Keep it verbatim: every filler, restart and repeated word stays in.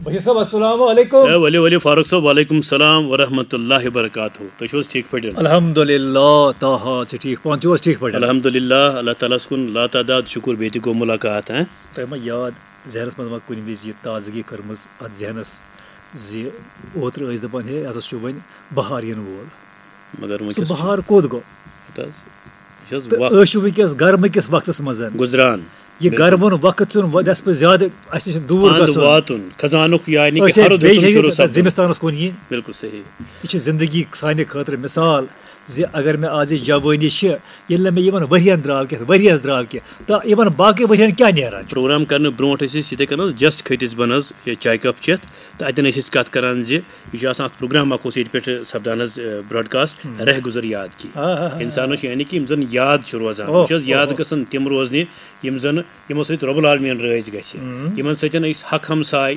بشیر صٲب، السلام علیکم۔ اے ؤلِو ؤلِو فاروق صٲب، وعلیکم السلام ورحمۃ اللہ وبرکاتہ۔ تُہۍ چھِو حظ ٹھیٖک پٲٹھۍ؟ الحمدللہ، تاہا چھِ ٹھیٖک، پانہٕ چھِو حظ ٹھیٖک پٲٹھۍ؟ الحمدللہ، اللہ تعالیٰ ہَس کُن لاتعداد شُکُر، بیٚیہِ تہِ گوٚو مُلاقات۔ ہاں، تۄہہِ ما یاد، ذہنَس منٛز ما کُنہِ وِزِ یہِ تازگی کٔرمٕژ اَتھ ذہنَس زِ اوترٕ ٲسۍ دَپان، ہے، اَتھ اوس چھُ وۄنۍ بہار یِنہٕ وول؟ مگر سُہ وٕنکیٚس چھُ بہار کوٚت گوٚو؟ ہَتہٕ حظ، یہِ چھِ حظ تہٕ وق أسۍ چھِ وٕنکیٚس گرمہٕ کِس وقتَس منٛز۔ گُزران۔ یہِ گرمہٕ وقت چھُنہٕ وۄنۍ نٮ۪صفہٕ زیادٕ، اَسہِ چھِ دوٗر پانہٕ گژھُن۔ واتُن، خزانُک یعنی أسۍ کہِ ہے ہرُد بیٚیہِ ہیوٚتُن ہے شروٗع نہٕ سپدُن۔ زِمِستانَس کُن یِنۍ۔ بِلکُل صحیح۔ یہِ چھِ زندگی سانہِ خٲطرٕ مثال زِ اگر مےٚ آز یہِ جوٲنی چھِ، ییٚلہِ نہٕ مےٚ یِمَن ؤرِیَن درٛاو کینٛہہ، ؤرِیَس درٛاو کینٛہہ، تہٕ یِمَن باقٕے ؤرِیَن کیٛاہ نیران چھُ؟ پروگرام کرنہٕ برونٛٹھ ٲسۍ أسۍ یِتھَے کٔنۍ حظ just کھٔتۍ أسۍ بۄن حظ یہِ چاے کپ چٮ۪تھ، تہٕ اَتٮ۪ن ٲسۍ أسۍ کَتھ کران زِ یہِ چھُ آسان اَکھ پروگرام اَکھ اوس ییٚتہِ پٮ۪ٹھ سپدان حظ، اے، broadcast، رہ گُزر یاد کی۔ آ، آ، آ۔ اِنسانَس چھُ یعنی کہِ یِم زَن یاد چھِ روزان، اوہ، یِم چھِ حظ اوہ، یاد اوہ۔ گژھان تِم روزنہِ یِم زَن یِمو سۭتۍ رۄب العالمیٖن رٲضۍ گژھِ، یِمَن سۭتۍ أسۍ حق ہمساے